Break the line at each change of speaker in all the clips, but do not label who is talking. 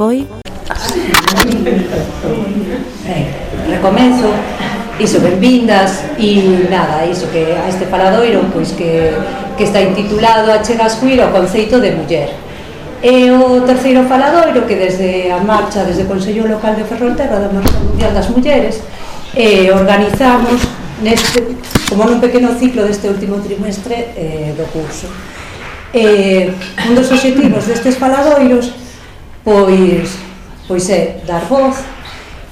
foi?
Recomenzo, iso, benvindas, e nada, iso que a este faladoiro, pois que está intitulado Achegas Queer ao conceito de muller. E o terceiro faladoiro que desde a marcha, desde o Consello Local de Ferrolterra da Marcha Mundial das Mulleres, organizamos como nun pequeno ciclo deste último trimestre do curso. Un dos obxectivos destes faladoiros pois é dar voz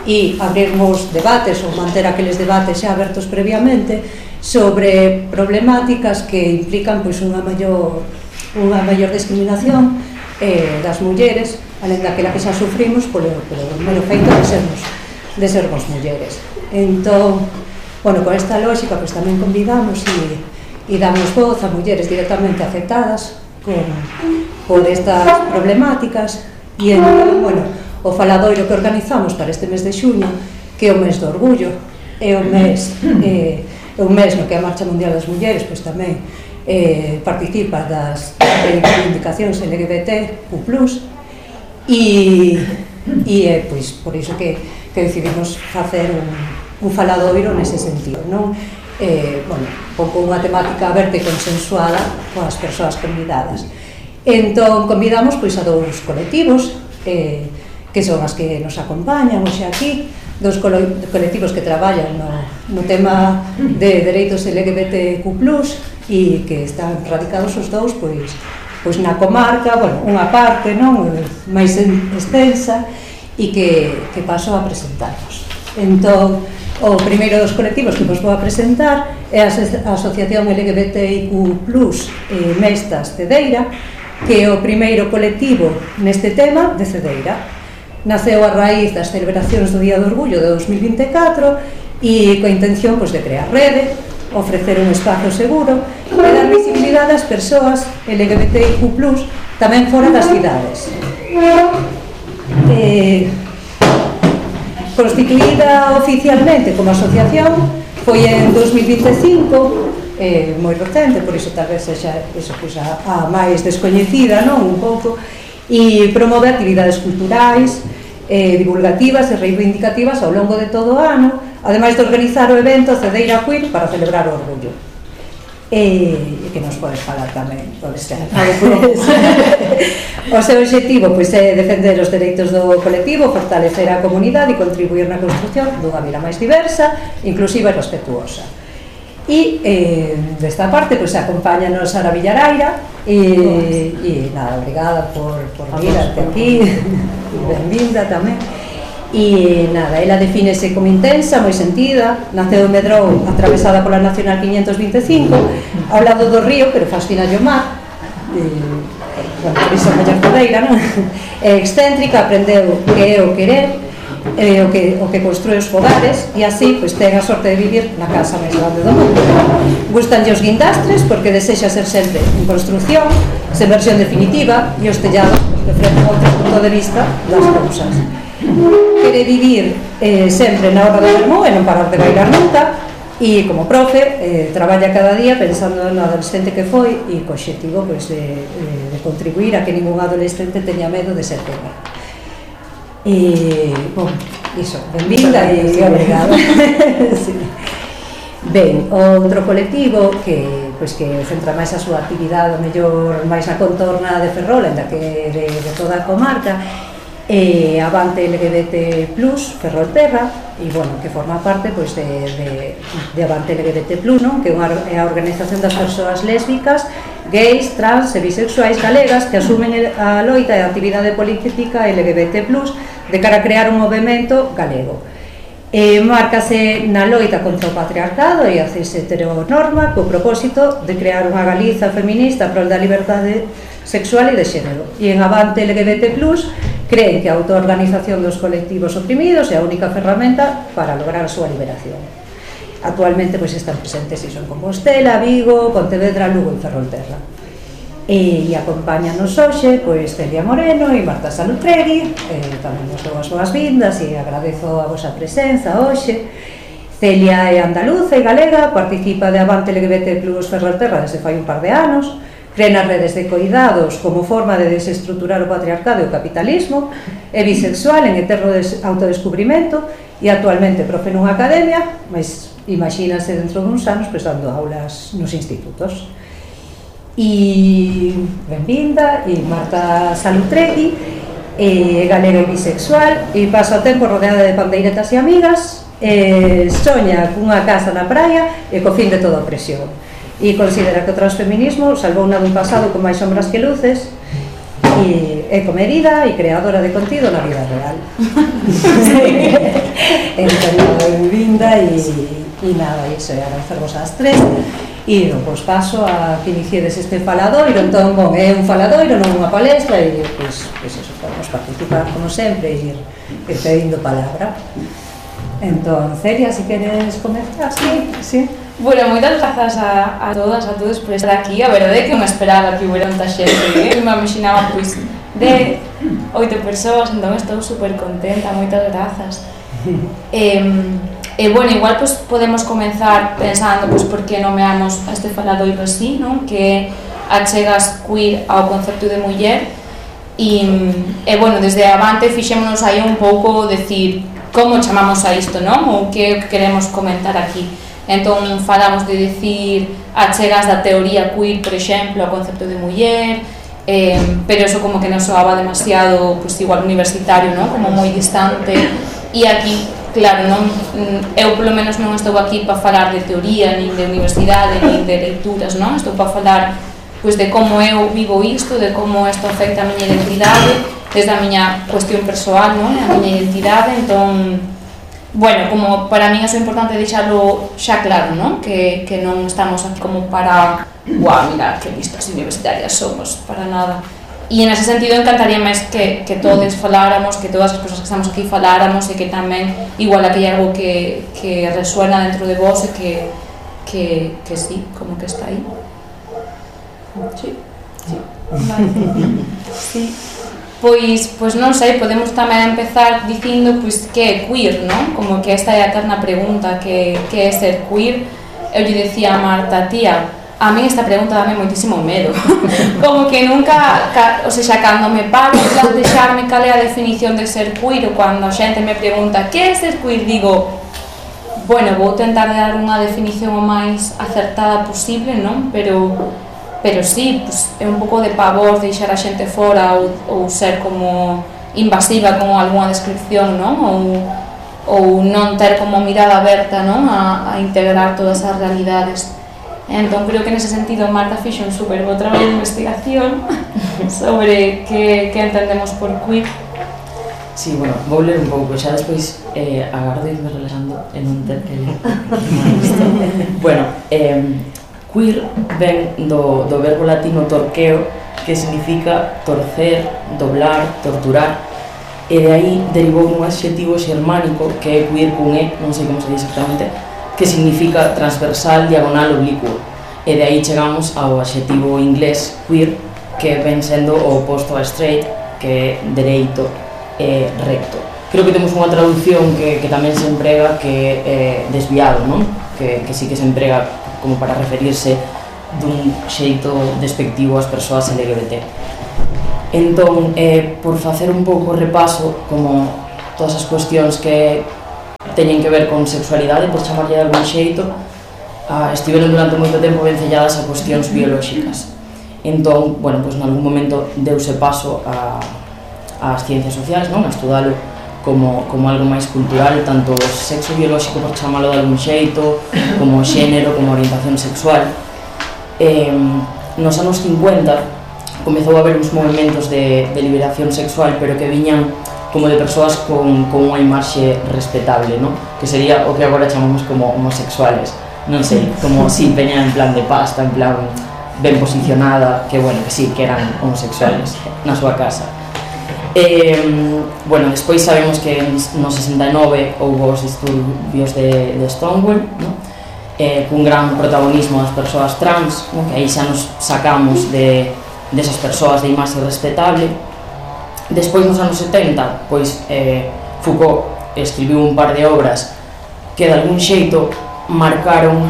e abrirmos debates ou manter aqueles debates xa abertos previamente sobre problemáticas que implican pois unha maior discriminación das mulleres, alén daquela que xa sufrimos polo mero feito de sermos mulleres. Entón, bueno, con esta lógica pois tamén convidamos e damos voz a mulleres directamente afectadas por estas problemáticas. E entón, bueno, o faladoiro que organizamos para este mes de xuño, que é o mes do orgullo, é un mes no que a Marcha Mundial das Mulleres pois tamén participa das reivindicacións LGBTQ+, e é pois por iso que decidimos facer un faladoiro nese sentido, non? Bueno, con unha temática aberta e consensuada coas persoas convidadas. Entón, convidamos pois a dous colectivos que son as que nos acompañan hoxe aquí, dos colectivos que traballan no tema de dereitos LGBTQ+, e que están radicados os dous pois na comarca, bueno, unha parte non máis extensa, e que paso a presentarnos. Entón, o primeiro dos colectivos que vos vou a presentar é a Asociación LGBTIQ+ Mestas Cedeira, que é o primeiro colectivo neste tema de Cedeira. Naceu a raíz das celebracións do Día do Orgullo de 2024 e coa intención de crear rede, ofrecer un espazo seguro e dar visibilidade ás persoas LGBTIQ+, tamén fora das cidades. Constituída oficialmente como asociación foi en 2025, moi recente, por iso tal vez sexa a máis descoñecida, non? Un pouco, e promove actividades culturais, divulgativas e reivindicativas ao longo de todo o ano, ademais de organizar o evento Cedeira Queer para celebrar o orgullo. E que nos podes falar tamén, pode ser. O seu obxectivo é defender os dereitos do colectivo, fortalecer a comunidade e contribuir na construción dunha vida máis diversa, inclusiva e respetuosa. E desta parte acompáñanos Sara Villaraira e nada, obrigada por vir até aquí, benvinda tamén. E nada, ela defínese como intensa, moi sentida, naceu en Medrou, atravesada pola Nacional 525, ao lado do río, pero fascina o mar, bueno, por iso mellor Cedeira, non? É excéntrica, aprendeu que é o querer, o que construe os fogares, e así ten a sorte de vivir na casa máis grande do mundo. Gustanlle os guindastres porque desexa ser sempre en construción, sen versión definitiva, e os tellados reflecten outro punto de vista das cousas. Quere vivir sempre na hora do vermú e non parar de bailar nunca, e como profe traballa cada día pensando no adolescente que foi e co obxectivo de contribuir a que ningún adolescente teña medo de ser pena. E, bom, iso, benvinda e obrigada. Ben, outro colectivo que centra máis a súa actividade mellor máis na contorna de Ferrol, ainda que de toda a comarca, Avante LGBT+, Ferrolterra, e, bueno, que forma parte de Avante LGBT+, non? Que é a organización das persoas lésbicas, gays, trans e bisexuais galegas que asumen a loita e a actividade política LGBT+, de cara a crear un movemento galego. Márcase na loita contra o patriarcado e a cis heteronorma co propósito de crear unha Galiza feminista prol da liberdade sexual e de xénero. E en Avante LGBT+, creen que a autoorganización dos colectivos oprimidos é a única ferramenta para lograr a súa liberación. Actualmente están presentes en Compostela, Vigo, Pontevedra, Lugo e Ferrolterra. E acompáñanos hoxe Celia Moreno e Marta Salutregui, tamén vos dou as boas vindas e agradezo a vosa presenza hoxe. Celia é andaluza e galega, participa de Avante LGBT+ Ferrolterra desde fai un par de anos, cree nas redes de coidados como forma de desestruturar o patriarcado e o capitalismo, é bisexual en eterno autodescubrimento e actualmente profe nunha academia, mas imagínase dentro duns anos dando aulas nos institutos. E benvinda, e Marta Salutregui, galega e bisexual, e pasa o tempo rodeada de pandeiretas e amigas, soña cunha casa na praia e co fin de toda opresión, e considera que o transfeminismo salvou dun pasado con máis sombras que luces, e é comedida e creadora de contido na vida real. Entón, benvinda, e nada, iso é agradecervos ás tres. E pois paso a que iniciedes este faladoiro. Entón, bon, é un faladoiro, non unha palestra, e pois eso, podemos participar como sempre e ir pedindo palabra. Entón, Celia, se queres comenzar? Sí.
Bueno, moitas grazas a todas, a todos por estar aquí. A verdade é que non esperaba que hubiera tanta xente, me imaginaba pois de 8 persoas, entón estou super contenta, moitas grazas. E bueno, igual pues, podemos comenzar pensando pues, por que nomeamos a este faladoiro así, non? Que achegas queer ao concepto de muller e bueno, desde avante fixémonos aí un pouco decir como chamamos a isto, non? Ou que queremos comentar aquí. Entón falamos de decir achegas da teoría queer, por exemplo, ao concepto de muller, pero eso como que non soaba demasiado pues, igual universitario, non? Como moi distante, e aquí claro, non, eu polo menos non estou aquí para falar de teoría, nin de universidade, nin de leituras, non? Estou para falar pois, de como eu vivo isto, de como isto afecta a miña identidade, desde a miña cuestión persoal, non? A miña identidade, entón, bueno, como para mí é importante deixarlo xa claro, non? Que non estamos aquí como para, guau, mira, que listas universitarias somos, para nada. E en ese sentido encantaría máis que todos faláramos, que todas as persoas que estamos aquí faláramos e que tamén igual que hai algo que resuena dentro de vos e que sí, como que está aí. Sí. Vale. Sí. Pois non sei, podemos tamén empezar dicindo pois que é queer, non? Como que esta é a eterna pregunta, que é ser queer. Eu lle decía a Marta, tía, a mí esta pregunta dame moitísimo medo. Como que nunca, o sea, cando me paro a plantexarme cal é a definición de ser queer, ou cando a xente me pregunta que é ser queer, digo, bueno, vou tentar dar unha definición o máis acertada posible, non? Pero sí, pues, é un pouco de pavor deixar a xente fora ou ser como invasiva con algunha descripción, non? Ou non ter como mirada aberta, non? A integrar todas as realidades. Entón, creo que nese sentido Marta fixe un super bo traballo de investigación sobre que entendemos por queer.
Sí, bueno, vou ler un pouco, xa despois agardo irme relajando en un ter que ler. Bueno, queer ven do verbo latino torqueo, que significa torcer, doblar, torturar, e de aí derivou un adxetivo xermánico que é queer cun e, non sei como se dice exactamente, que significa transversal, diagonal, oblicuo, e de aí chegamos ao adxetivo inglés queer, que ven sendo o oposto a straight, que é dereito e recto. Creo que temos unha traducción que tamén se emprega que é desviado, non? Que sí que se emprega como para referirse dun xeito despectivo ás persoas LGBT. Entón, por facer un pouco repaso, como todas as cuestións que teñen que ver con sexualidade, por chamarlle de algún xeito, estiveron durante moito tempo vencelladas a cuestións biolóxicas. Entón, bueno, pois nalgún momento deuse paso ás ciencias sociais, non? A estudalo como algo máis cultural, tanto o sexo biolóxico, por chamalo de algún xeito, como o xénero, como a orientación sexual. Nos anos 50 comezou a haber uns movimentos de liberación sexual, pero que viñan como de persoas con unha imaxe respetable, non? Que sería o que agora chamamos como homosexuales, non sei, como si veñan en plan de pasta, en plan ben posicionada, que bueno, que sí, que eran homosexuales na súa casa. Bueno, despois sabemos que no 69 houve os disturbios de Stonewall, non? Cun gran protagonismo das persoas trans, non? Que aí xa nos sacamos desas persoas de imaxe respetable. Despois, nos anos 70, pois Foucault escribiu un par de obras que de algún xeito marcaron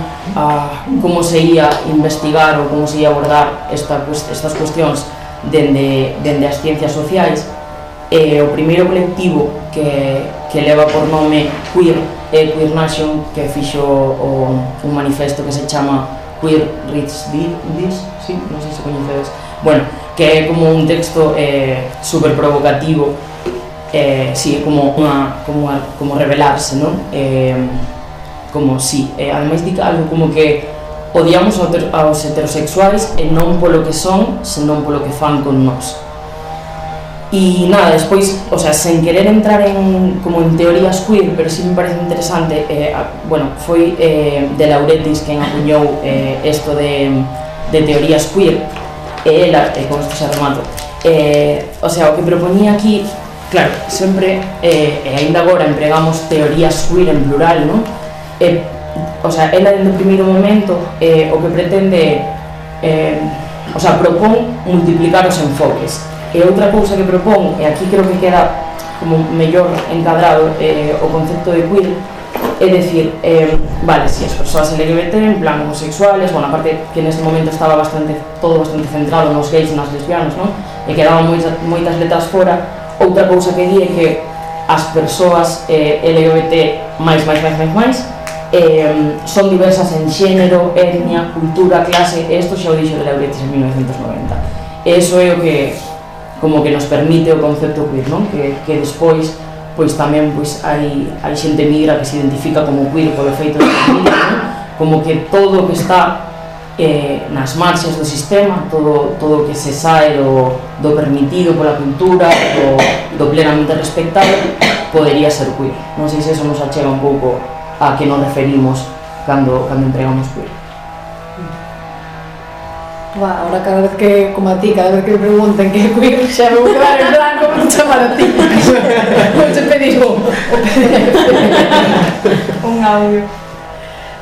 como se ia investigar ou como se ia abordar estas cuestións dende as ciencias sociais. O primeiro colectivo que leva por nome Queer é Queer Nation, que fixo un manifesto que se chama Queer Reads This, sí, non sei se coñecedes, bueno, que é como un texto super provocativo, sí, como revelarse, non? Como, sí, ademais dica algo como que odiamos aos heterosexuais e non polo que son, senón polo que fan con nós. E nada, despois, o sea, sen querer entrar como en teorías queer, pero sí me parece interesante, bueno, foi de Lauretis quen acuñou isto de teorías queer, e ela, con isto xa remato, o sea, o que proponía aquí, claro, sempre, e ainda agora empregamos teorías queer en plural, non? O sea, ela desde o primeiro momento o que pretende, o sea, propón multiplicar os enfoques. E outra cousa que propón, e aquí creo que queda como mellor encadrado o concepto de queer, é dicir, vale, si as persoas LGBT, en plan homosexuales, bueno, aparte que neste momento estaba todo bastante centrado nos gays e nas lesbianas, non? E quedaban moitas letras fora. Outra cousa que di é que as persoas LGBT máis son diversas en xénero, etnia, cultura, clase, e isto xa o dixo de Lauretis en 1990. E iso é o que como que nos permite o concepto queer, non? Que despois pois tamén pois hai xente migra que se identifica como queer polo feito de familia, non? Como que todo o que está nas marxes do sistema, todo o que se sae do permitido pola cultura, do plenamente respectado, podería ser queer. Non sei se eso nos achega un pouco a que nos referimos cando entregamos queer.
Ahora cada vez que, como a ti, cada vez que me pregunten que é queer, xa me vou quedar en plan como te chamar a ti. Non te pedís un audio.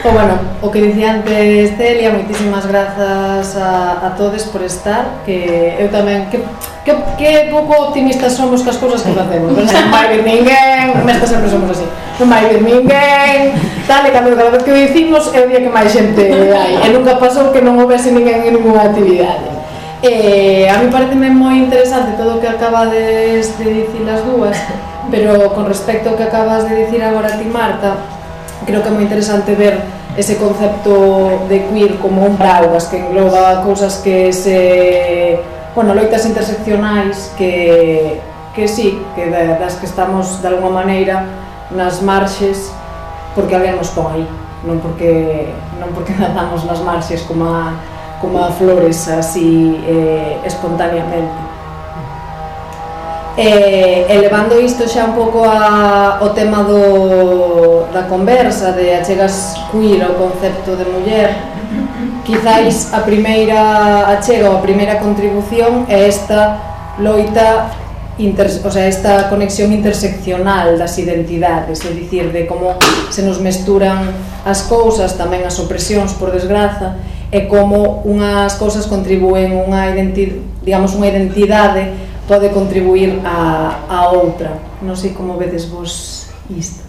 O bueno, o que dicía antes Celia, moitísimas grazas a todos por estar, que eu tamén, que pouco optimistas somos cas cousas que facemos, non vai vir ninguén, nestas sempre somos así, non vai vir ninguén, tal, e cada vez que o dicimos é o día que máis xente hai, e nunca pasou que non houvese ninguén en ninguna actividade. A mí pareceme moi interesante todo o que acabades de dicir as dúas, pero con respecto ao que acabas de dicir agora ti, Marta, creo que é moi interesante ver ese concepto de queer como un paraugas que engloba cousas que loitas interseccionais que sí, que das que estamos de alguma maneira nas marxes porque alguén nos pon aí, non porque nadamos nas marxes como a flores así espontáneamente. Elevando isto xa un pouco ao tema da conversa de achegas queer ao concepto de muller, quizáis a primeira achega ou a primeira contribución é esta loita, esta conexión interseccional das identidades, é dicir, de como se nos mesturan as cousas, tamén as opresións, por desgraza, e como unhas cousas contribúen unha identidade pode contribuir a outra. Non sei como vedes vos isto.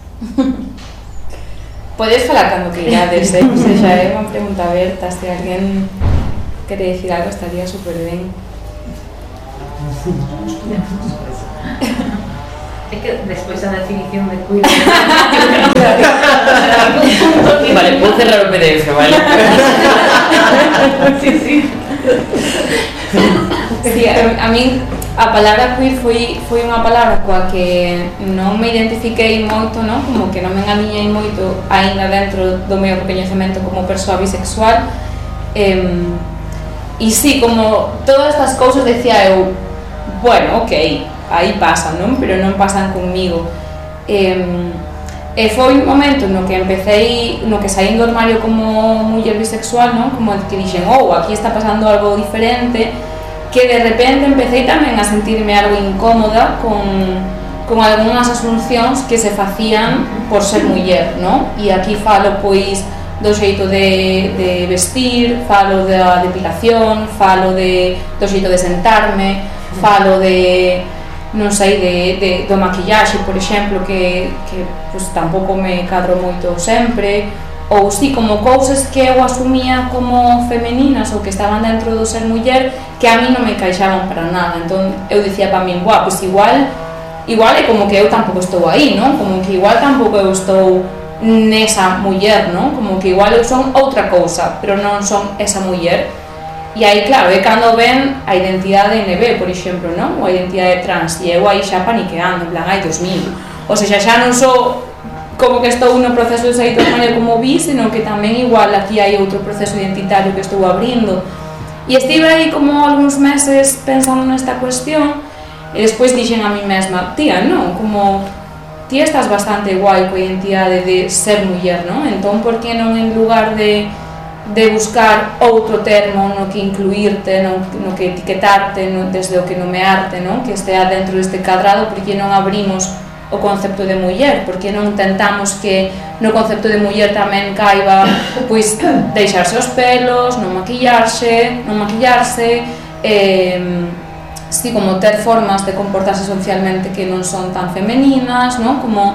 Podes falar cando que irades, o sea, xa é unha pregunta aberta, se alguén quere dicir algo estaría super ben.
É que despois a definición de queer
Vale, vou cerrar o PDF, vale?
Sí.
Sí, a min a palabra queer foi unha palabra coa que non me identifiquei moito, non? Como que non me engadiñei moito aínda dentro do meu recoñecemento como persoa bisexual, e sí, como todas estas cousas decía eu, bueno, ok, aí pasan, non? Pero non pasan conmigo. E foi un momento no que empecé, no que saí do armario como muller bisexual, non? Como que dixen, aquí está pasando algo diferente, que de repente empecé tamén a sentirme algo incómoda con algunhas asuncións que se facían por ser muller, non? E aquí falo, pois, do xeito de vestir, falo da depilación, falo do xeito de sentarme, falo non sei, do maquillaxe, por exemplo, que pues, tampouco me cadro moito sempre, ou si, como cousas que eu asumía como femeninas ou que estaban dentro do ser muller que a mí non me encaixaban para nada. Entón eu dicía para min, pois igual é como que eu tampouco estou aí, non? Como que igual tampouco eu estou nesa muller, non? Como que igual eu son outra cousa, pero non son esa muller. E aí, claro, é cando ven a identidade NB, por exemplo, non? Ou a identidade trans, e eu aí xa paniqueando, en plan, ai, Dios mío. Ou seja, xa non sou como que estou no proceso de sair da maneira como vi, senón que tamén igual aquí hai outro proceso identitario que estou abrindo. E estive aí como algúns meses pensando nesta cuestión, e despois dixen a mí mesma, tía, non? Como, tía, estás bastante guai coa identidade de ser muller, non? Entón, por que non en lugar de buscar outro termo no que incluirte, no que etiquetarte, desde o que nomearte, non? Que estea dentro deste cadrado, por que non abrimos o concepto de muller, porque non tentamos que no concepto de muller tamén caiba pois deixarse os pelos, non maquillarse, si, como ter formas de comportarse socialmente que non son tan femeninas, non? Como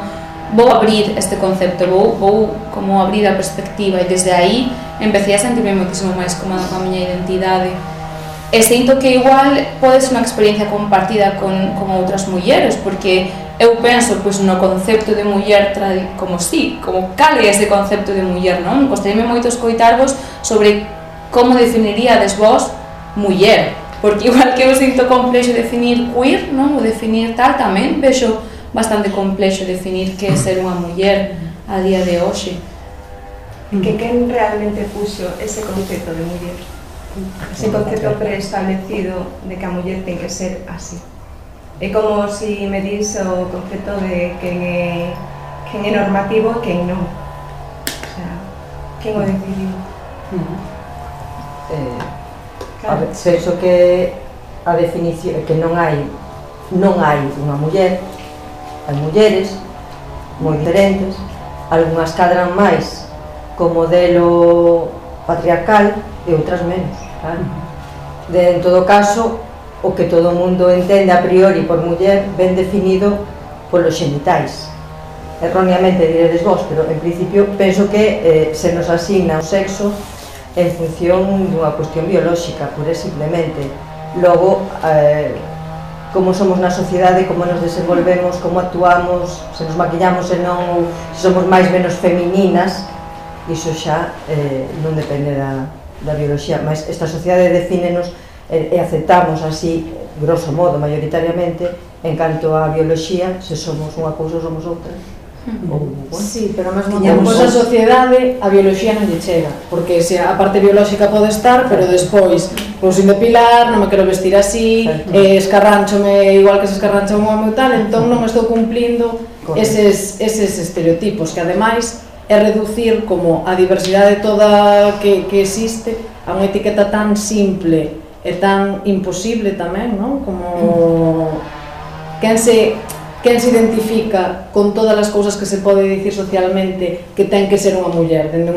vou abrir este concepto, vou como abrir a perspectiva, e desde aí empecé a sentirme moitísimo máis cómoda coa miña identidade. E sinto que igual pode ser unha experiencia compartida con outras mulleres, porque eu penso pois, no concepto de muller como cal é ese concepto de muller, non? Gostaríame moito escoitarvos sobre como definiríades vos muller, porque igual que eu sinto complexo definir queer, non? Ou definir tal, tamén vexo bastante complexo definir que é ser unha muller a día de hoxe.
Que quen realmente puxo ese concepto de muller? Ese concepto preestablecido de que a muller ten que ser así. É como si me dis o concepto de quen é normativo e quen non. O sea, quen o decidiu?
A ver, penso que a definición que non hai unha muller, hai mulleres moi diferentes, algunhas cadran máis co modelo patriarcal e outras menos, claro. En todo caso, o que todo o mundo entende a priori por muller ben definido polos xenitais. Erróneamente diredes vos, pero en principio penso que se nos asigna o sexo en función dunha cuestión biolóxica, pura e simplemente. Logo, como somos na sociedade, como nos desenvolvemos, como actuamos, se nos maquillamos e non, se somos máis menos femininas, iso xa non depende da bioloxía, mas esta sociedade defínenos e aceptamos así, grosso modo, maioritariamente, en canto a bioloxía, se somos unha cousa ou somos outra.
Sí, pero ao mesmo tempo esa sociedade a bioloxía non lle chega, porque se a parte biolóxica pode estar, pero despois vou sin depilar, non me quero vestir así, escarránchome igual que se escarrancha un home ou tal, entón non estou cumplindo eses estereotipos, que ademais é reducir como a diversidade toda que existe a unha etiqueta tan simple e tan imposible tamén, non? Como quen se identifica con todas as cousas que se pode dicir socialmente que ten que ser unha muller dende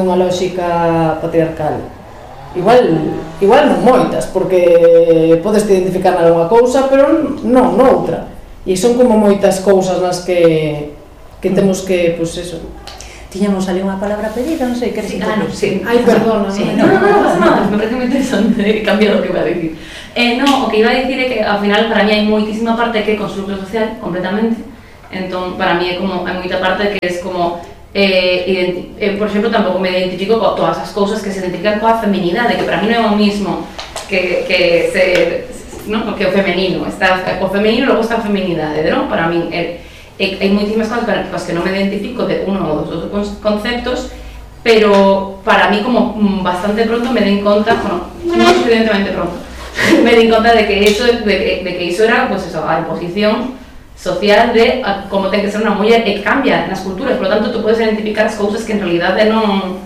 unha lógica patriarcal. Igual non moitas, porque podes te identificar nalgunha cousa, pero non noutra. E son como moitas cousas nas que temos que, pois eso.
Tiñamos ali unha palabra pedida, non sei, queres intervir?
Sí.
Ai, perdona.
No pasa nada, me parece moi interesante cambiar o que iba a dicir. No, o que iba a dicir é que ao final para mí hai moitísima parte que é constructo social completamente. Entón, para mí é como, hai moita parte que é como por exemplo, tampouco me identifico con todas as cousas que se identifican coa feminidade, que para mí non é o mismo que ser, non? Porque o femenino, está o femenino e logo está a feminidade, non? Para mí hai moitísimas cousas para as que non me identifico de uno ou dos outros conceptos, pero para mí como bastante pronto me den conta, bueno, non evidentemente pronto, me den conta de que iso era, pues eso, a imposición social de como ten que ser unha muller, e cambia nas culturas, por lo tanto, tú podes identificar as cousas que en realidade non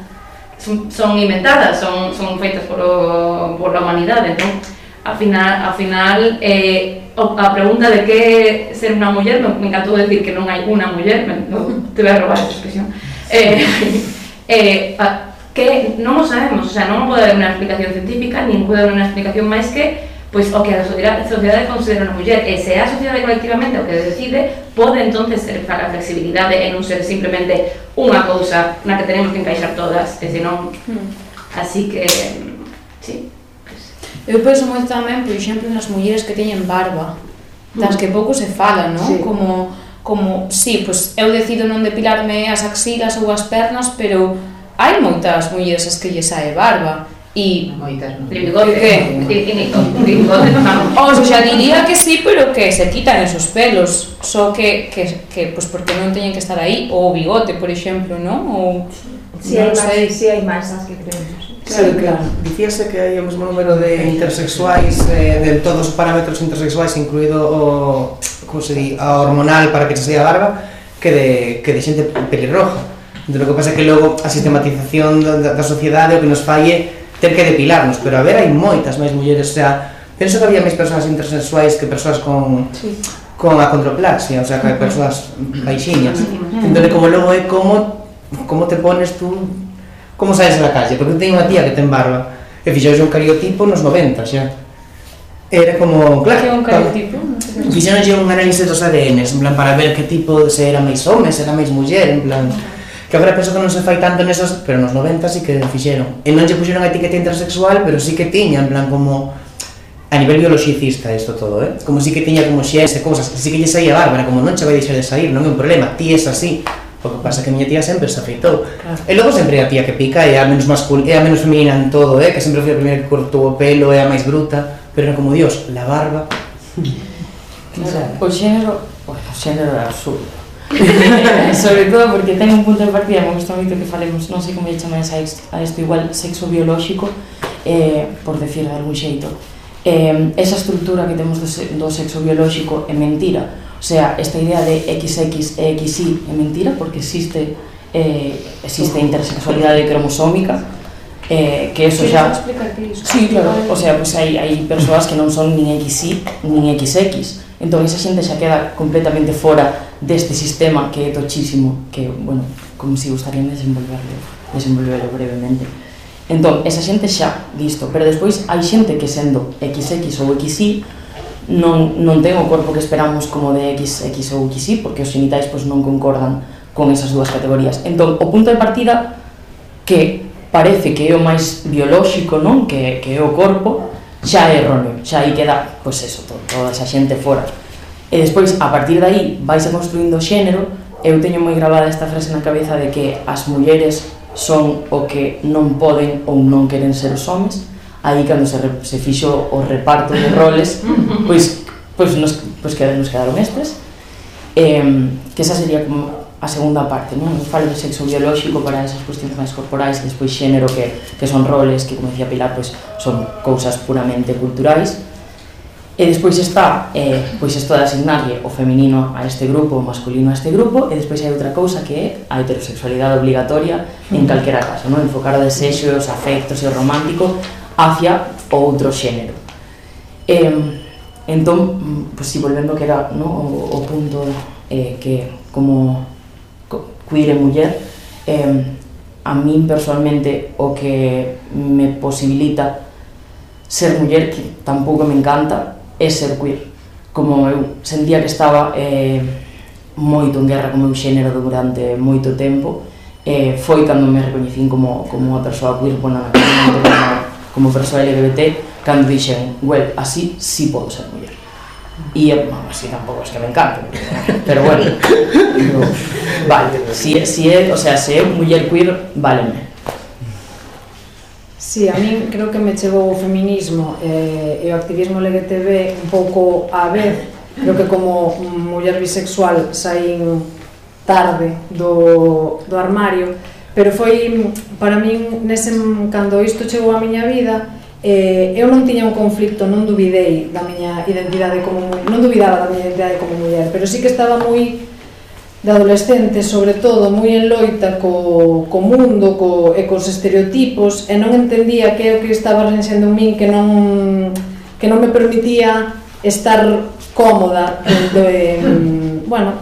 son inventadas, son feitas por a humanidade. Entón, ao final a pregunta de que ser unha muller, me encantou decir que non hai unha muller, te voy a robar esa expresión, que non o sabemos, o sea, non pode haber unha explicación científica, nin pode haber unha explicación máis que pois o que a sociedade considera unha muller, e se a sociedade colectivamente o que decide, pode entonces ser para a flexibilidade e non ser simplemente unha cousa na que tenemos que encaixar todas, e senón, así que, sí.
Eu penso moito tamén, por exemplo, nas mulleres que teñen barba, das que pouco se fala, non?
Sí.
Como, sí, pois eu decido non depilarme as axilas ou as pernas, pero hai moitas mulleres as que lle sae barba. E
Moitas, non?
Bigote, bigote,
o sea, diría que sí, pero que se quitan esos pelos, só que pues porque non teñen que estar aí, ou o bigote, por exemplo, non? Ou
Si
non sei.
hai máis as que creemos.
Claro. Dicíase que hai o mesmo número de intersexuais, de todos os parámetros intersexuais, incluído o, como se di, a hormonal para que se sea a barba, que de xente pelirroja. Entón, o que pasa é que logo a sistematización da sociedade o que nos falle ter que depilarnos, pero a ver, hai moitas máis mulleres, o sea, penso que había máis persoas intersexuais que persoas con acondroplasia, o sea, que hai persoas baixiñas. Entón, como logo é como te pones tú, como saes a la calle, porque eu teño unha tía que ten barba, e fixouse un cariotipo nos 90 xa. Era como, claro,
Que é un cariotipo?
fixéronlle un análisis dos ADNs, en plan, para ver que tipo, se era máis home, se era máis muller, en plan, que agora penso que non se fai tanto nesas, pero nos 90 sí que fixeron. E non lle puxeron a etiqueta intersexual, pero sí que tiña, en plan, como a nivel biologicista isto todo, como sí que tiña como xenes e cousas, sí que lle saía bárbara, como non che vai deixar de sair, non é un problema, ti es así. O que pasa é que a miña tía sempre se afeitou. Claro. E logo sempre a tía que pica, é a menos masculina, é a menos feminina en todo, que sempre foi a primeira que cortou o pelo, é a máis bruta, pero era como, Dios, la barba.
Claro. O xénero é absurdo. Sobre todo porque ten un punto de partida, me gusta moito que falemos, non sei como lle chamáis a isto, igual sexo biolóxico, por decir de algún xeito. Esa estrutura que temos do sexo biolóxico é mentira. O sea, esta idea de XX e XY é mentira porque existe intersexualidade cromosómica, que eso xa... Sí, claro, o sea, pues hai persoas que non son nin XY nin XX, entón esa xente xa queda completamente fora deste sistema que é tochísimo, que, bueno, como si gustarían desenvolverlo brevemente. Entón, esa xente xa, listo, pero despois hai xente que sendo XX ou XY non ten o corpo que esperamos como de XX ou XY, porque os xenitais pois, non concordan con esas dúas categorías. Entón, o punto de partida que parece que é o máis biolóxico, non? Que é o corpo, xa é erróneo, xa aí queda, pois eso, toda esa xente fora. E despois, a partir de aí, vaise construindo o xénero. Eu teño moi gravada esta frase na cabeza de que as mulleres son o que non poden ou non queren ser os homes. Aí cando se fixo o reparto de roles, pois nos quedaron estes, que esa sería como a segunda parte, non? Falo de sexo biolóxico para esas cuestións máis corporais, despois xénero que son roles que, como decía Pilar, pois son cousas puramente culturais, e despois está pois isto de asignarlle o feminino a este grupo, o masculino a este grupo, e despois hai outra cousa que é a heterosexualidade obligatoria en calquera caso, non? Enfocar o desexo, os afectos e o romántico hacia outro xénero. Entón, pues, si volvendo que era, no, o punto que como queer e muller, a min personalmente o que me posibilita ser muller, que tampouco me encanta, é ser queer. Como eu sentía que estaba moito en guerra co meu xénero durante moito tempo, foi cando me recoñecín como unha persoa queer, bueno, como persoa LGBT, cando dixen, well, así sí podo ser muller. E así tampouco es que me encante, pero bueno, vale, se é muller queer, váleme.
Sí, a min creo que me chegou o feminismo e o activismo LGTB un pouco á vez. Creo que como muller bisexual saín tarde do armario, pero foi para min cando isto chegou á miña vida, eu non tiña un conflicto, non duvidei da miña identidade como non dubidaba da miña identidade como muller, pero sí que estaba moi de adolescente, sobre todo, moi en loita co mundo e cos estereotipos, e non entendía que é o que estaba renxendo en min, que non me permitía estar cómoda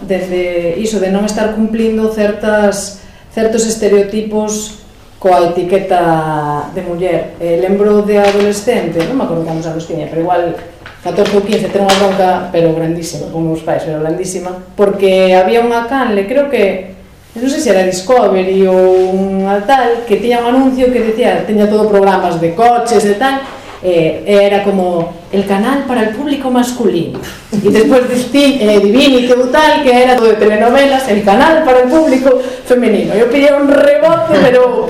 desde iso de non estar cumplindo certos estereotipos coa etiqueta de muller. Lembro de adolescente, non me acordo que anos tiña, pero igual 14 ou 15, ten unha bronca, pero grandísima, con meus pais, pero grandísima, porque había unha canle, creo que, non sei se era Discovery ou unha tal, que tiña un anuncio que decía, teña todo programas de coches e tal, era como el canal para el público masculino, e despois Divinity ou tal, que era todo de telenovelas, el canal para el público femenino. Eu pillei un rebote,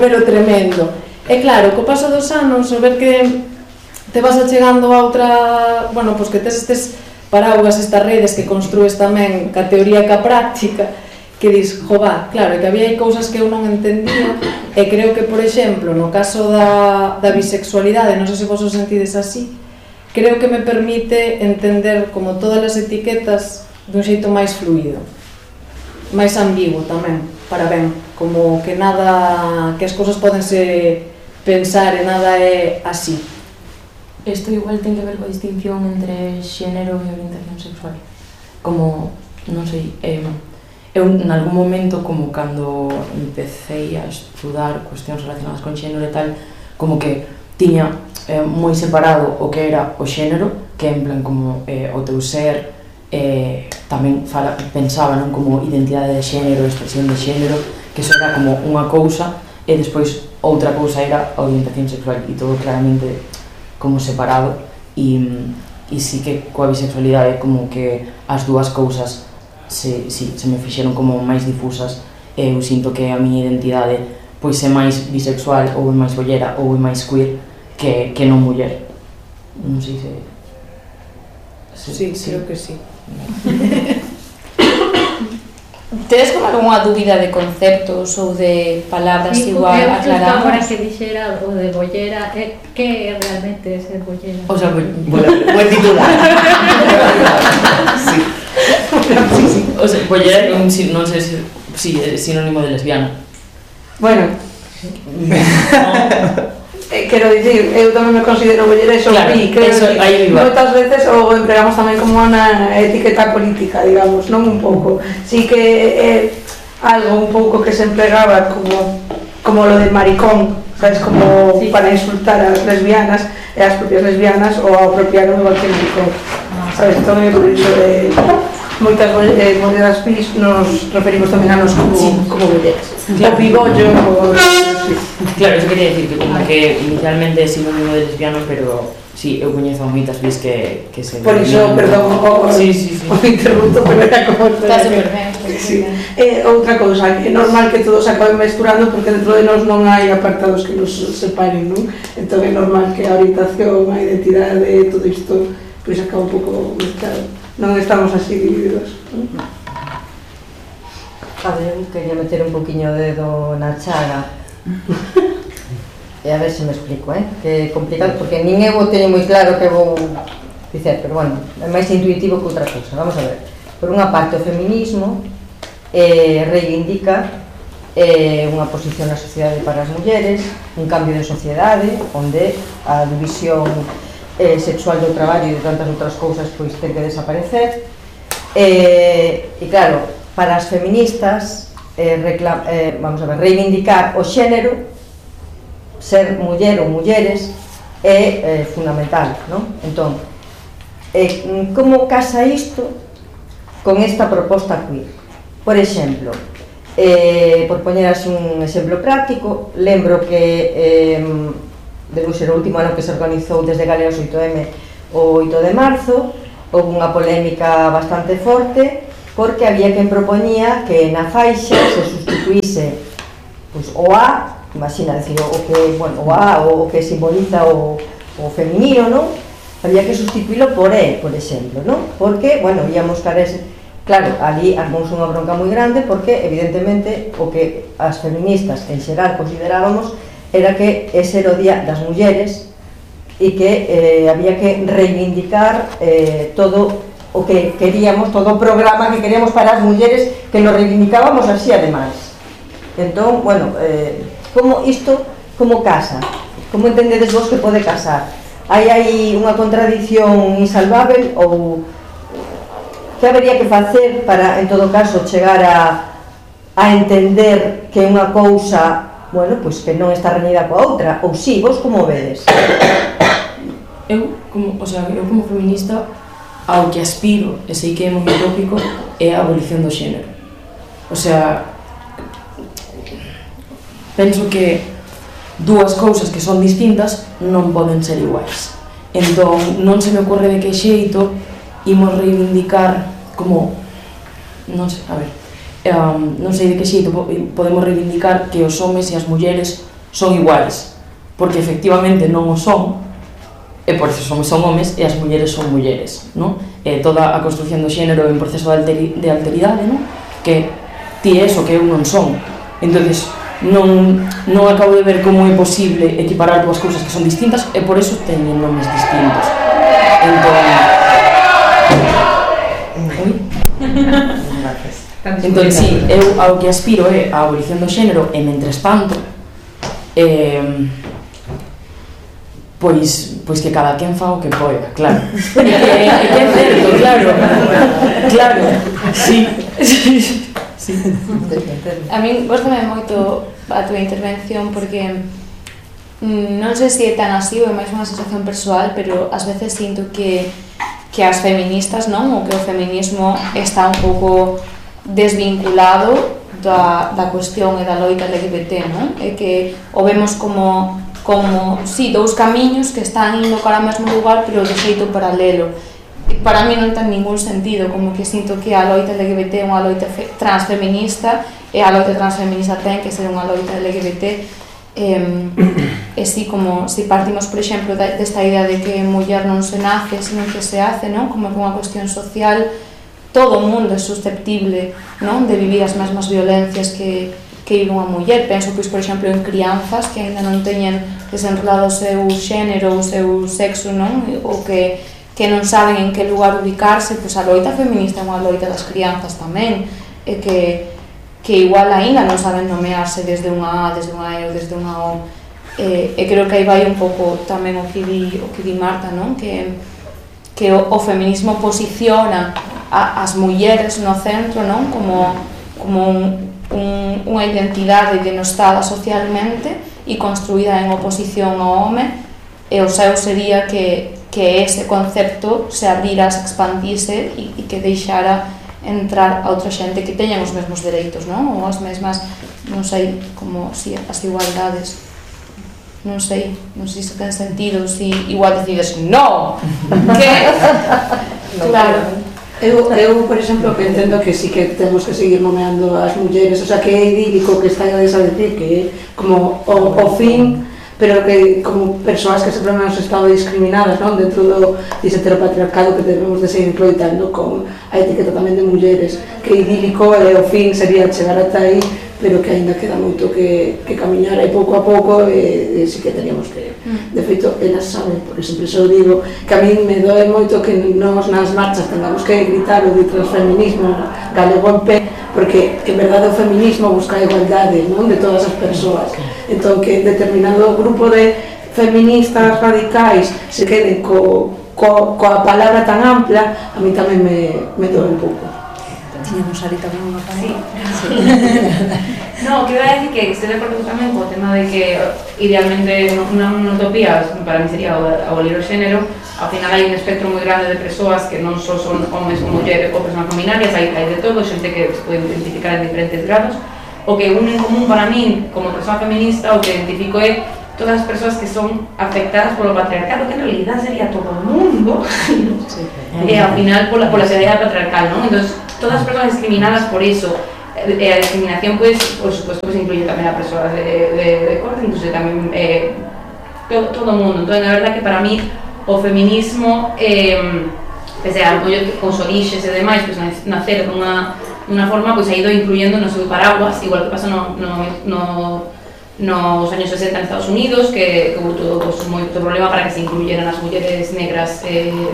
pero tremendo. E claro, co paso dos anos, o ver que te vas achegando a outra, bueno, pois que tes estes paraugas, estas redes que construes tamén ca teoría e ca práctica, que dis, jová, claro, que había cousas que eu non entendía, e creo que, por exemplo, no caso da bisexualidade, non sei se vos os sentides así, creo que me permite entender como todas as etiquetas dun xeito máis fluido, máis ambiguo tamén, para ben, como que nada, que as cousas podense pensar e nada é así.
Isto igual ten que ver coa distinción entre xénero e orientación sexual. Como, non sei, eu en algún momento, como cando empecé a estudar cuestións relacionadas con xénero e tal, como que tiña moi separado o que era o xénero, que en plan como o teu ser, tamén pensaba non como identidade de xénero, expresión de xénero, que iso era como unha cousa, e despois outra cousa era a orientación sexual, e todo claramente como separado, e sí que coa bisexualidade como que as dúas cousas se me fixeron como máis difusas, e eu sinto que a miña identidade pois é máis bisexual ou é máis bollera ou é máis queer que non muller. Non sei se...
Sí, creo que sí.
Tedes como algunha dúbida de conceptos ou de palabras igual aclaramos?
Agora que dixera o de bollera, que realmente é ser bollera?
O sea,
buen titular. Sí.
O sea, bollera non sei se é sinónimo de lesbiana.
Bueno, quero dicir, eu tamén me considero bollera e
claro,
creo que moitas veces o empregamos tamén como unha etiqueta política, digamos, non un pouco. Sí que é algo un pouco que se empregaba como lo de maricón, sabes, como sí, para insultar as lesbianas e as propias lesbianas ou apropiaron igual que maricón, sabes, entón é por iso de moitas bolleras bis nos referimos tamén a nos como bolleras, claro. O pibollo
claro, eso quería decir que como que inicialmente é sinónimo de lesbiano, pero sí, eu coñezo moitas bis que se...
Por iso, perdón, o interrupto, pero era como...
Está super ben.
Outra cousa, é normal que todos acaben mesturando porque dentro de nós non hai apartados que nos separen, non? Entón é normal que a orientación, a identidade, todo isto, pois acaba un pouco mezclado. Non estamos así divididos.
A ver, quería meter un poquinho o dedo na chaga e a ver se me explico, que é complicado porque nin eu o teño moi claro que vou dicer, pero bueno, é máis intuitivo que outra cousa. Vamos a ver, por unha parte o feminismo reivindica unha posición na sociedade para as mulleres, un cambio de sociedade onde a división sexual do traballo e de tantas outras cousas pois ten que desaparecer, e claro, para as feministas vamos a ver, reivindicar o xénero, ser muller ou mulleres é fundamental, non? Entón, como casa isto con esta proposta queer? Por exemplo, por poñer así un exemplo práctico, lembro que debe ser o último ano que se organizou desde Galeos 8M o 8 de marzo, houve unha polémica bastante forte porque había quen propoñía que na faixa se sustituíse pois, o A, imagina, decir, o que, bueno, o A, o que simboliza o feminino, non? Había que sustituílo por E, por exemplo, non? Porque, bueno, íamos cara ese... Claro, ali armouse unha bronca moi grande porque, evidentemente, o que as feministas en xeral considerábamos era que ese era o día das mulleres e que había que reivindicar todo o que queríamos, todo o programa que queríamos para as mulleres, que nos reivindicábamos así ademais. Entón, bueno, como isto, como casa? Como entendedes vos que pode casar? Hai unha contradición insalvável ou que habería que facer para, en todo caso, chegar a entender que unha cousa bueno, pois que non está reñida coa outra, ou si, vos como vedes?
Eu como feminista, ao que aspiro, e sei que é moi utópico, é a abolición do xénero. O sea, penso que dúas cousas que son distintas non poden ser iguais. Entón, non se me ocorre de que xeito imos reivindicar como... non sei, a ver... non sei de que xeito podemos reivindicar que os homes e as mulleres son iguais, porque efectivamente non o son, e por eso os homes son homes e as mulleres son mulleres, non? Toda a construcción do xénero é un proceso de alteridade, non? Que ti é o que eu non son. Entonces, non acabo de ver como é posible equiparar dúas cousas que son distintas e por eso teñen nomes distintos. Entón, sí, eu ao que aspiro é a abolición do xénero e mentres tanto pois que cada quen fa o que poida, claro. É que é certo, claro, sí.
A min gostame moito a túa intervención porque non sei se é tan así ou é máis unha sensación persoal, pero ás veces sinto que as feministas, non? Ou que o feminismo está un pouco desvinculado da cuestión e da loita LGBT, non? É que o vemos como sí, dous camiños que están indo para o mesmo lugar, pero de xeito paralelo. Para mí non ten ningún sentido, como que sinto que a loita LGBT é unha loita transfeminista e a loita transfeminista ten que ser unha loita LGBT e si como si partimos, por exemplo, desta idea de que muller non se nace, sino que se hace, non? Como que unha cuestión social, todo o mundo é susceptible, non? De vivir as mesmas violencias que vive unha muller. Penso, pois, por exemplo, en crianzas que ainda non teñen desenrolado o seu xénero, o seu sexo, non? Ou que non saben en que lugar ubicarse, pois a loita feminista é unha loita das crianzas tamén, e que igual aínda non saben nomearse desde unha A, desde unha E ou desde unha O. E creo que aí vai un pouco tamén o que di Marta, non? Que o feminismo posiciona as mulleres no centro, non? Como unha identidade denostada socialmente e construída en oposición ao home, e o seu sería que ese concepto se abrira, se expandise e que deixara entrar a outra xente que teñan os mesmos dereitos, non? Ou as mesmas, non sei, como si as igualdades. Non sei se ten sentido, si igual decides no, que claro.
Eu, por exemplo, que entendo que sí que temos que seguir nomeando as mulleres, o sea, que é idílico que estallades a decir que é como o fin, pero que como persoas que sempre hemos estado discriminadas, non? Dentro dese heteropatriarcado que debemos de seguir loitando con a etiqueta tamén de mulleres, que idílico e o fin sería chegar ata aí, pero que aínda queda moito que camiñar e pouco a pouco e sí que teríamos que, de feito, elas saben, por exemplo, eu digo que a mí me doe moito que nos nas marchas tengamos que gritar o de transfeminismo galego en pé, porque en verdade o feminismo busca a igualdade, non? De todas as persoas. Entón, que determinado grupo de feministas radicais se queden coa palabra tan ampla, a mí tamén me doe un pouco.
Tiñamos ali tamén unha palabra.
No, que iba a decir que estoy de acordo tamén co tema de que idealmente unha utopía para mí sería abolir o xénero. Ao final hai un espectro moi grande de persoas que non só son homes ou mulleres ou persoas non binarias, hai de todo, xente que se pode identificar en diferentes grados. O que une en común para mí como persoa feminista, o que identifico é todas as persoas que son afectadas polo patriarcado, que en realidad sería todo o mundo, e ao final pola sociedade patriarcal, non? Entón, todas as persoas discriminadas por iso, a discriminación, pues, por supuesto, pues, incluye tamén a persoas de corte, incluso tamén todo o mundo. Entón, a verdade que para mí o feminismo, pese a apoio con os orixes e demais, pues, nacer dunha forma, pues, ha ido incluyendo no seu paraguas, igual que pasa nos años 60 en Estados Unidos, que hubo todo moito problema para que se incluyeran as mulleres negras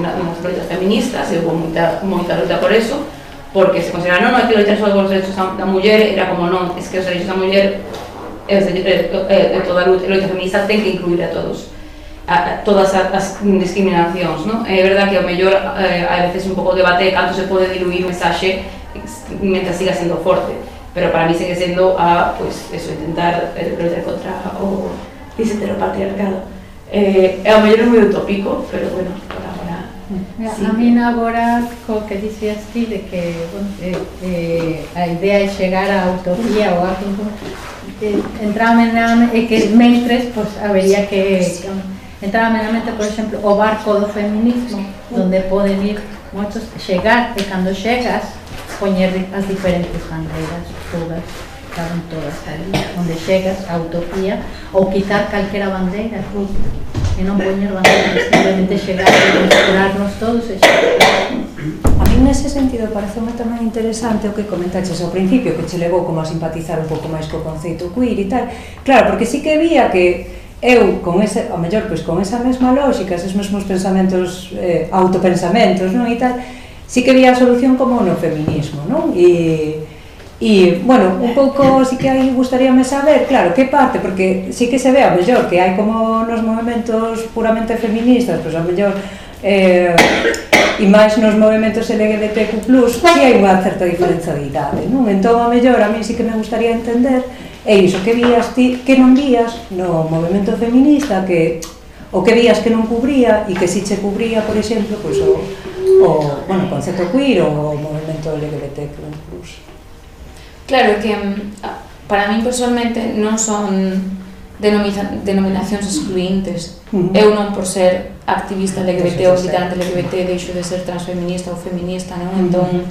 nas loitas feministas, e hubo moita loita por eso, porque se considera, non, hai que loitar só os derechos da muller, era como, non, es que os derechos da muller toda a loita feminista ten que incluir a todos, todas as discriminacións, non? É verdade que ao mellor a veces un pouco debate canto se pode diluir mensaxe mentre siga sendo forte, pero para mí sigue sendo pues, eso, intentar luchar contra o heteropatriarcado. Ao mellor é moi utópico, pero bueno, por agora
sí. A mí agora co que dicías ti de que a idea é chegar á utopía ou algo entrame na e que mentres pues, habería que entrame na mente, por exemplo, o barco do feminismo donde poden ir moitos chegar e cando chegas poñer as diferentes bandeiras todas estaban todas ali, onde chegas a utopía ou quitar calquera bandeira e non poñer bandeiras, simplemente chegar e mezclarnos todos e chegar.
A mí nese sentido pareceu tamén interesante o que comentaches ao principio, que che levou como a simpatizar un pouco máis co conceito queer e tal. Claro, porque sí que vía que eu, con ese, ao mellor, pois, con esa mesma lógica, esos mesmos pensamentos, autopensamentos, non, e tal, sí que vía a solución como no feminismo, non? E, bueno, un pouco sí que aí gustaríame saber, claro, que parte, porque sí que se ve ao mellor que hai como nos movimentos puramente feministas, pois ao mellor e máis nos movimentos LGBTQ+, sí hai unha certa diferenza de idade, non? Entón, ao mellor, a mí sí que me gustaría entender é iso que vías ti, que non vías no movimento feminista, que o que vías que non cubría e que si che cubría, por exemplo, pois bueno, concepto queer ou o movimento LGBTQ+.
Claro que para min personalmente non son denominacións excluintes. Eu non por ser activista LGBT ou militante LGBT deixo de ser transfeminista ou feminista, non? Entón,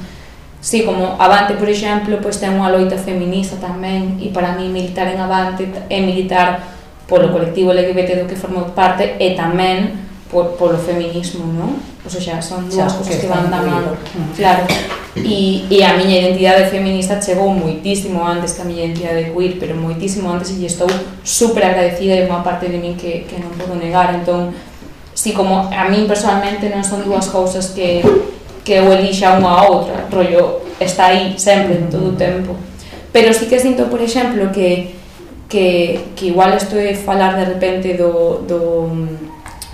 sí, como Avante, por exemplo, pois ten unha loita feminista tamén, e para mí militar en Avante é militar polo colectivo LGBT do que formo parte e tamén polo feminismo, non? O sea, son dúas cousas que van da mano. Claro. E a miña identidade feminista chegou moitísimo antes que a miña identidade queer, pero moitísimo antes, e estou super agradecida e unha parte de min que non podo negar. Entón, si como a min personalmente non son dúas cousas que eu elixa unha a outra, rollo, está aí sempre, todo o tempo. Pero sí que sinto, por exemplo, que igual isto é falar de repente do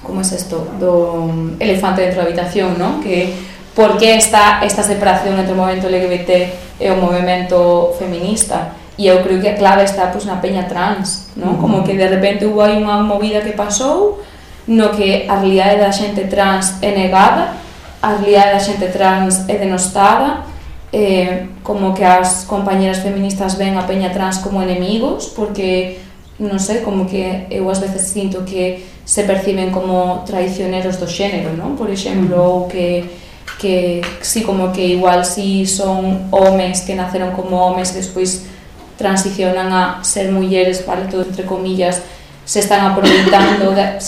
como é isto? Do elefante dentro da habitación, non? Que por que está esta separación entre o movimento LGBT e o movimento feminista? E eu creo que a clave está pois, na peña trans, non? Como que de repente hubo aí unha movida que pasou no que a realidade da xente trans é negada, a realidade da xente trans é denostada, como que as compañeras feministas ven a peña trans como enemigos, porque, non sei, como que eu ás veces sinto que se perciben como traicioneros do xénero, non? Por exemplo, ou que sí, como que igual si son homes que naceron como homes e despois transicionan a ser mulleres, vale, todo entre comillas, se están aproveitando de,